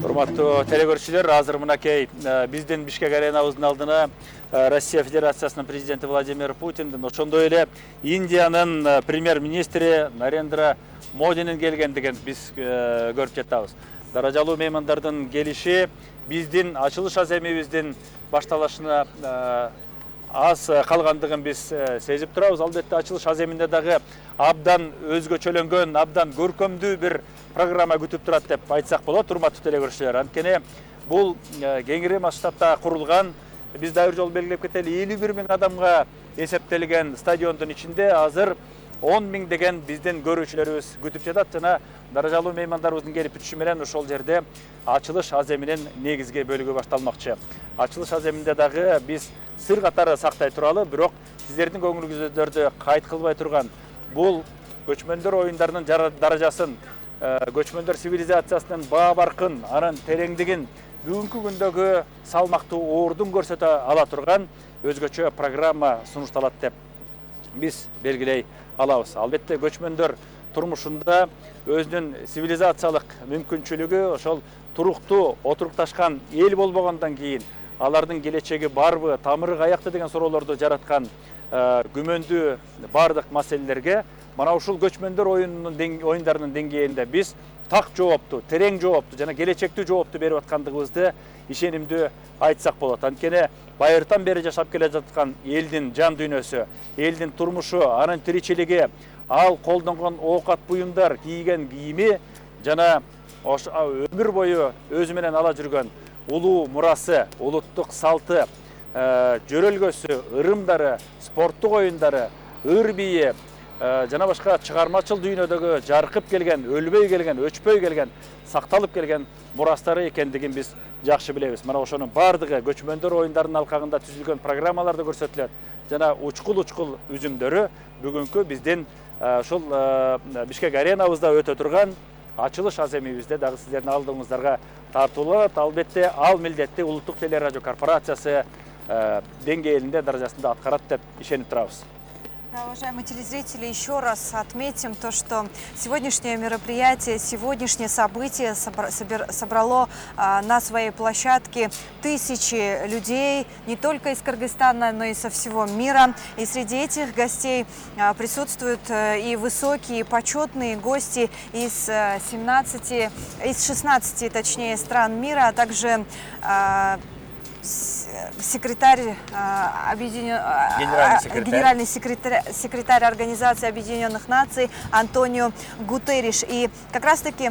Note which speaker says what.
Speaker 1: Урматтуу телекөрүүчүлөр, азыр мынакей биздин Бишкек аренабыздын алдына Россия Федерациясынын президенти Владимир Путиндин, ошондой эле Индиянын премьер-министри Нарендра Модинин келгендигин биз көрүп жатабыз. Даражалуу меймандардын келиши биздин ачылыш аземибиздин башталышына аз калгандыгын биз сезип турабыз. Албетте ачылыш аземинде дагы абдан өзгөчөлөнгөн, абдан көркөмдүү бир программа күтүп турат деп айтсак болот, урматтуу телекөрүүчүлөр. Анткени бул кеңири масштабта курулган, биз дайыр жолу белгилеп кетели, 51 миң адамга эсептелген стадиондун ичинде азыр 10 миң деген биздин көрүүчүлөрүбүз күтүп жатат жана даражалуу меймандарыбыздын келип бүтүшү менен ошол жерде ачылыш аземинин негизги бөлүгү башталмакчы. Ачылыш аземинде дагы биз сыр катары сактай туралы, бирок сиздердин көңүлүңүздөрдү кайт кылбай турган бул көчмөндөр оюндарынын даражасын, көчмөндөр цивилизациясынын баа баркын, анын тереңдигин, бүгүнкү күндөгү салмактуу оордун көрсөтө ала турган өзгөчө программа сунушталат деп биз белгилей алабыз. Албетте көчмөндөр турмушунда өзүнүн цивилизациялык мүмкүнчүлүгү, ошол туруктуу отурукташкан эл болбогондон кийин алардын келечеги барбы, тамыры каякта деген суроолорду жараткан күмөндүү бардык маселелерге мына ушул көчмөндөр оюндарынын деңгээлинде биз так жоопту, терең жоопту жана келечектүү жоопту берип аткандыгыбызды ишенимдүү айтсак болот. Анткени байыртан бери жашап келе жаткан элдин жан дүйнөсү, элдин турмушу, анын тиричилиги, ал колдонгон оокат буюмдар, кийген кийими жана өмүр бою өзү менен ала жүргөн улуу мурасы, улуттук салты, жөрөлгөсү, ырымдары, спорттук оюндары, ыр бийи жана башка чыгармачыл дүйнөдөгү жаркып келген, өлбөй келген, өчпөй келген, сакталып келген мурастары экендигин биз жакшы билебиз. Мына ошонун бардыгы көчмөндөр оюндарынын алкагында түзүлгөн программаларда көрсөтүлөт жана учкул үзүмдөрү бүгүнкү биздин ушул Бишкек аренабызда өтө турган ачылыш аземибизде дагы сиздердин алдыңыздарга тартууланат. Албетте ал милдетти улуттук телерадио корпорациясы деңгээлинде, даражасында аткарат деп ишенип турабыз.
Speaker 2: Уважаемые телезрители, еще раз отметим то, что сегодняшнее мероприятие, сегодняшнее событие собрало на своей площадке тысячи людей, не только из Кыргызстана, но и со всего мира. И среди этих гостей присутствуют и высокие, и почетные гости из 16 точнее, стран мира, а также генеральный секретарь Организации Объединенных Наций Антонио Гутерриш. И как раз таки